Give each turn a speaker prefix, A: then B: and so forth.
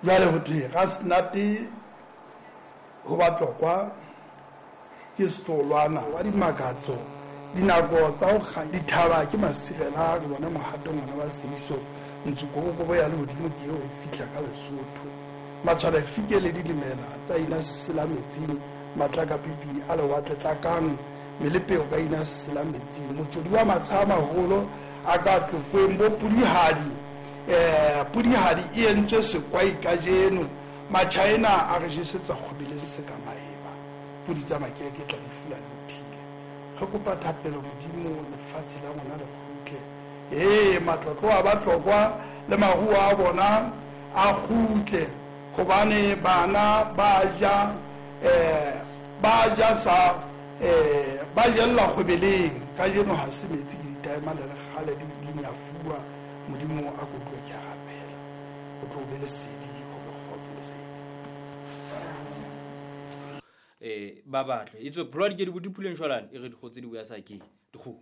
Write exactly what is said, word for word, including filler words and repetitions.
A: Jwale ho thwe ga senate ho batlokwa ke setolwana wa dimakatso dinako tsa ho kga dithaba ke masirela re bone mohato ngwana wa seiso ntsukobokobo ya lehodimo ke eo e fihla ka Lesotho matshwala fike le dilemela tsa ina sela metsing matlakapipi a lewatle tlakang melepeo ka ina sela metsing motsodi wa matsha a maholo a ka tlokweng bo pudihadi um pudihadi e entswe sekwai kajeno Machina a re jesetsa kgobeleng se ka maeba pudi tsa makeke tla di fula di uthile re kopa thapelo modimo lefatshe la rona le kgutle ee matlotlo a batlokwa le maruo a bona a kgutle hobane bana ba ja um ba ja sa um ba jella kgwebeleng kajeno ha se metsi ke ditaemane le kgale di di nyafuwa modimo a ko utlwe ke a rapela o tlo be lesedi ho be kgotso lesedi.
B: Eh ba batle itswe pholwa di ke di bodipuleng jwalane e re dikgo tse di boya sa ke dikgo.